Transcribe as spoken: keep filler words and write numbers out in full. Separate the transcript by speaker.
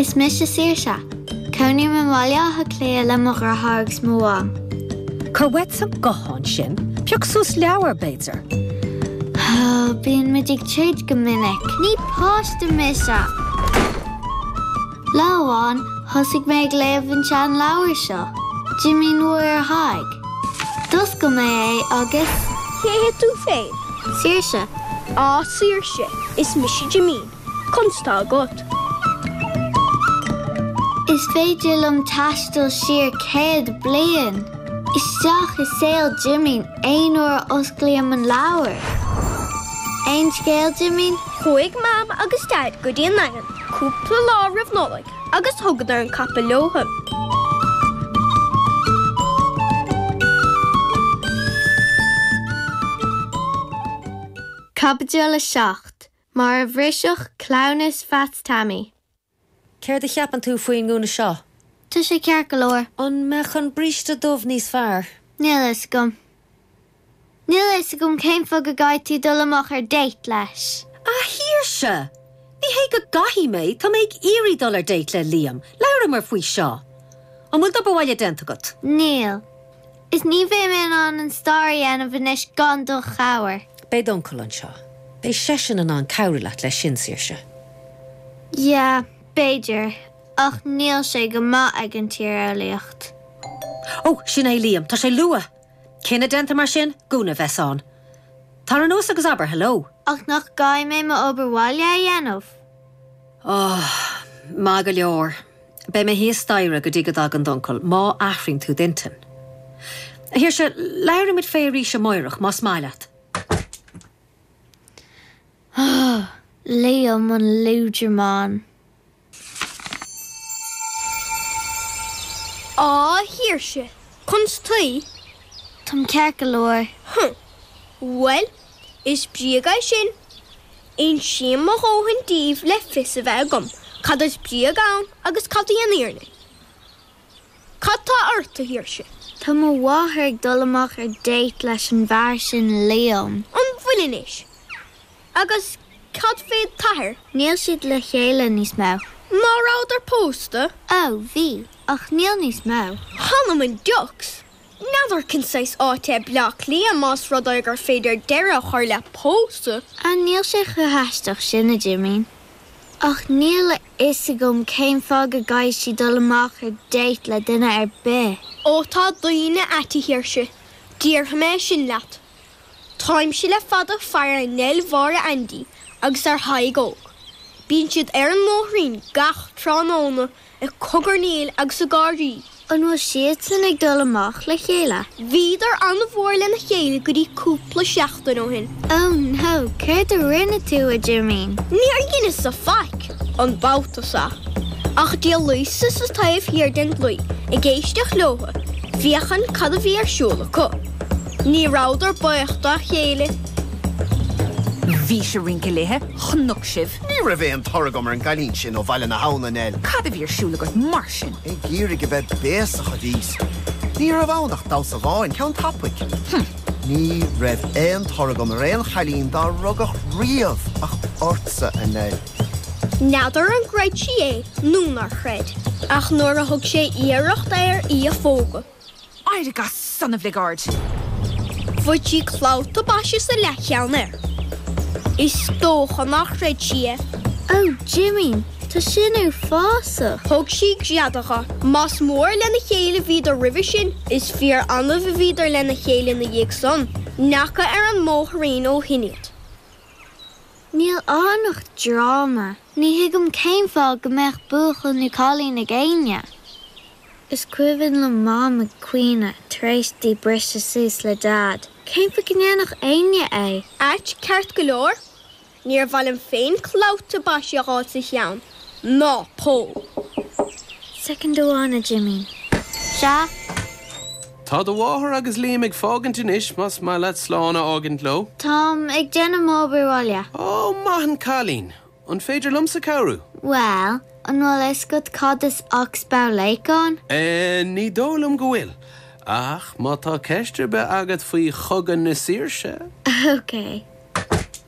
Speaker 1: Is mise Saoirse. Cónaím i mBaile Átha Cliath le mo dheartháir agus mo mham.
Speaker 2: Cuir uait an guthán sin, pioc suas leabhar b'fhéidir.
Speaker 1: Bíonn muid ag troid go minic. Ní páiste mise. Lá amháin thosaigh mé ag léamh an seanleabhar seo, Jimín Mhuire Thaidhg. D'oscail mé é agus
Speaker 3: Cé hé tú féin?
Speaker 1: Saoirse.
Speaker 3: Á Saoirse, is mise Jimín. Conas tá agat.
Speaker 1: Is féidir liom taisteal siar céad bliain. Isteach i saol Jimín aon uair a osclaím an leabhar. Aon scéal Jimín?
Speaker 3: Chuaigh Mam agus Dad go dtí an Daingean, cúpla lá roimh Nollaig agus thugadar an capall leo.
Speaker 1: Caibidil a seacht, Mar a bhrisfeadh cleamhnas Pheaits Tommy.
Speaker 2: Céard a cheapann tú faoin ngúna seo?
Speaker 1: Tá sé ceart go leor.
Speaker 2: An mbeadh an bríste dubh níos fearr?
Speaker 1: Níl a fhios agam. Níl a fhios agam cén fáth go gcaithfidh tú dul amach ar date leis.
Speaker 2: A Shaoirse! Ní hé go gcaithfidh mé, tá mé ag iarraidh dul ar date le Liam. Labhramar faoi seo. An bhfuil d'obair bhaile déanta agat?
Speaker 1: Níl. Is ní bheidh mé in ann an stair a dhéanamh anois gan do chabhair.
Speaker 2: Beidh d'uncail anseo. Beidh seisean in ann cabhrú leat leis sin, Saoirse.
Speaker 1: Yeah, b'fhéidir, ach níl sé go maith ag an tíreolaíocht.
Speaker 2: Ó, sin é Liam, tá sé luath. Cinneadh déanta mar sin, gúna a bheas ann. Tar anuas agus abair hello.
Speaker 1: Ach nach gcaithfidh mé m'obair bhaile a dhéanamh?
Speaker 2: Oh, maith go leor. Beidh mé thíos staighre go dtí go dtagann d'uncail, má athraíonn tú d'intinn. A Shaoirse, labhróidh muid fé arís amárach, más maith leat.
Speaker 1: Oh, Liam an liúdramán.
Speaker 3: Á, a Shaoirse, conas taoi?
Speaker 1: Táim ceart go leor.
Speaker 3: Huh. Bhuel, is bréag é sin. Insím mo dhóthain daoibh le fios a bheith agam cad is bréag ann agus cad í an fhírinne. Cad tá ort, a Shaoirse?
Speaker 1: Tá mo mháthair ag dul amach ar date leis an bhfear sin Liam.
Speaker 3: An bhfuil anois? Agus cad fé d'athair?
Speaker 1: Níl siad le chéile níos mó.
Speaker 3: Ná rabhadar pósta?
Speaker 1: Ó, bhí, ach níl níos mó.
Speaker 3: Th'anam 'on diocs! N'fheadar cén saghas áit é Bleá Cliath más rud é gur féidir deireadh a chur le pósadh.
Speaker 1: Ah, níl sé chomh haisteach sin, a Jimín. Ach níl a fhios agam cén fáth go gcaithfidh sí dul amach ar date le duine ar bith.
Speaker 3: Ó tá daoine ait, a Shaoirse, déarfaidh mé sin leat. Táimse le fada ag faire ar Nell Mháire Aindí agus ar Thadhg Óg. Bíonn siad ar an mbóithrín gach tráthnóna ag cogarnaíl agus ag gáirí.
Speaker 1: An bhfuil siadsan ag dul amach le chéile?
Speaker 3: Bhíodar an-mhór lena chéile go dtí cúpla seachtain ó shin.
Speaker 1: Oh no, céard a rinne tú, a Jimín?
Speaker 3: Níor dheineas-sa faic, an babhta seo. Ach d'éalaíos-sa sa taobh thiar den dlaoi ag éisteacht leothu, féachaint cad a bhí ar siúl acu. Ní rabhadar buíoch dá chéile.
Speaker 4: Bhís ag rince léithe, chonac sibh.
Speaker 5: Ní raibh aon tor agam ar an gcailín sin ó Bhaile na hAbhann, a Nell.
Speaker 4: Cad a bhí ar siúl agat mar sin?
Speaker 5: Ag iarraidh a bheith béasach a bhíos. Ní raibh ann ach damhsa amháin, ceann tapaidh.
Speaker 4: Hm.
Speaker 5: Ní raibh aon tor agam ar aon chailín dá rugadh riamh ach ortsa, a Nell.
Speaker 3: N'fheadar an gcreid sí é nó nár chreid, ach nuair a thug sé iarracht air í a phógadh.
Speaker 4: Éirigh as san, a bhligeaird!
Speaker 3: Bhain sí clabhta boise sa leathcheann air. Is dócha nár chreid sí é.
Speaker 1: Ó, Jimín, tá sin uafásach!
Speaker 3: Thug sí greadadh dho. Más mór lena chéile a bhíodar roimhe sin, is fíor annamh a bhíodar lena chéile ina dhiaidh san. N'fheaca ar an mbóithrín ó shin iad.
Speaker 1: Níl ann ach dráma. Ní thuigim cén fáth go mbeadh buachaill nó cailín ag éinne. Is cuimhin liom Mam ag caoineadh tar éis di briseadh suas le Daid. Cén fáth go ndéanfadh éinne é?
Speaker 3: Ait ceart go leor, níor mhaith liom féin clabhta boise a dh'fháil sa cheann, ná poll.
Speaker 1: Soicind amháin, a Jimín. Sea?
Speaker 6: Tá do mháthair agus Liam ag fágaint anois, más maith leat slán a fhágaint leo.
Speaker 1: Táim ag déanamh m'obair bhaile.
Speaker 6: Ó, maith an cailín! An féidir liomsa cabhrú?
Speaker 1: Bhuel, an bhfuil a fhios agat cad is Oxbow Lake ann?
Speaker 6: Eh, ní dóigh liom go bhfuil. Ach má tá ceist ar bith agat faoi Chogadh na Saoirse.
Speaker 1: Ok.